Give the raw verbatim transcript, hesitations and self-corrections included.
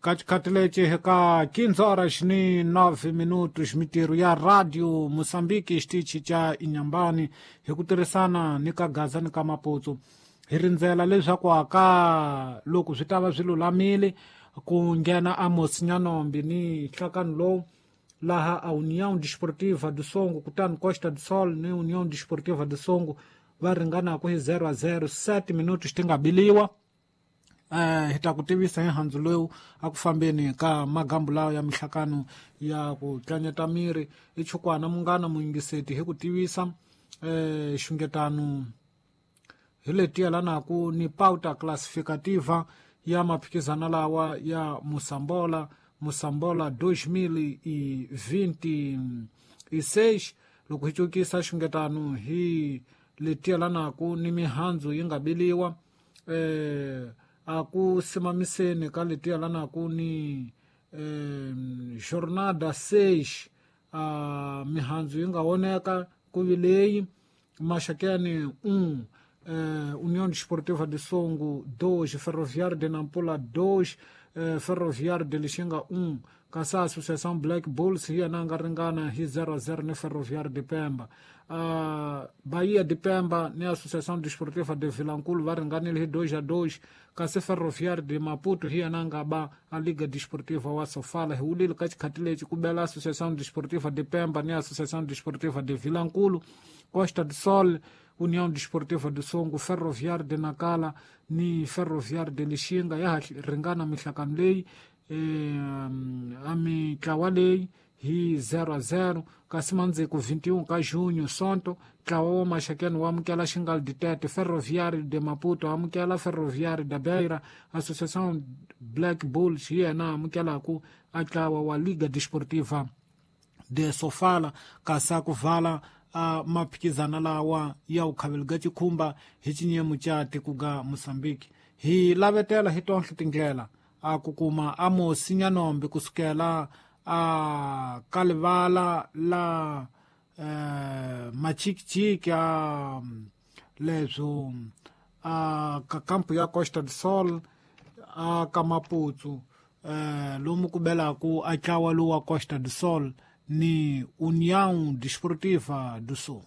Ka xikhathi lexi hi ka quinze horas ni nove minutos, mitirho ya Radio Mozambique xitichi xa Inhambane hi ku tirhisana ni ka Gaza ni ka Maputo hi rindzela leswaku aka loko swi ta va swi lulamile ku nghena Amos Nyanombi ni nhlakano lowu laha a União Desportiva do Songo kutani Costa do Sol ni União Desportiva do Songo va ringanaku hi zero a zero sete minutos ti nga biliwa. Eh, hi ta ku tivisa hi handzu lowu a ku fambeni ka magambu lawa ya mihlakano ya ku tlanyeta miri i chukwana munghana muyingiseti hi ku tivisa eh, xungetano hi leti yelanaku ni pauta classificativa ya maphikizano lawa ya Mosambola Mosambola dois mil e vinte e seis. Loko hi cukisa xungetano hi leti yelanaku ni mihandzu yi nga biliwa eh, a ku simamiseni ka leti yelanaku ni eh, jornada seis a mihandzu yi nga voneka ku vi leyi Maxakeni um eh, União Desportiva de Songo dois, Ferroviário de Nampula dois, eh, Ferroviário de Lixinga um, kasi Associação Black Bulls hi yena a nga ringana hi zero a zero ni Ferroviário de Pemba. Uh, Bahia de Pemba ni Associação Desportiva de Vilankulo va ringanile hi dois a dois, kasi Ferroviário de Maputo hi yena a nga ba a Liga Desportiva wa Sofala. Hi wulile ka xikhathi lexi ku bela Associação Desportiva de Pemba ni Associação Desportiva de Vilankulo, Costa do Sol, União Desportiva do Songo, Ferroviário de Nacala ni Ferroviário de Lixinga ya ha ringana mihlakano leyi eh, a mitlawa leyi hi zero a zero. Kasi mandziko vinte e um ka junho Sonto ntlawa wa Maxakeni wa amukela Xingal de Tete, Ferroviário de Maputo amukela Ferroviário da Beira, Associação Black Bulls hi yena amukelaku a ntlawa wa Liga Desportiva de Sofala. Kasi a ku vala a maphikizano lawa ya vukhaveli ga xikhumba hi xinyemu xa tiko ga Mozambique. Hi lavetela hi tonhle tindlela a ku kuma Amos Nyanombi kusukela a ka livala la eh, Machikichiki a leswo a ka kampu ya Costa do Sol a ka Maputo eh, lomu ku belaku a ntlawa lowu wa Costa do Sol ni União Desportiva do Sul.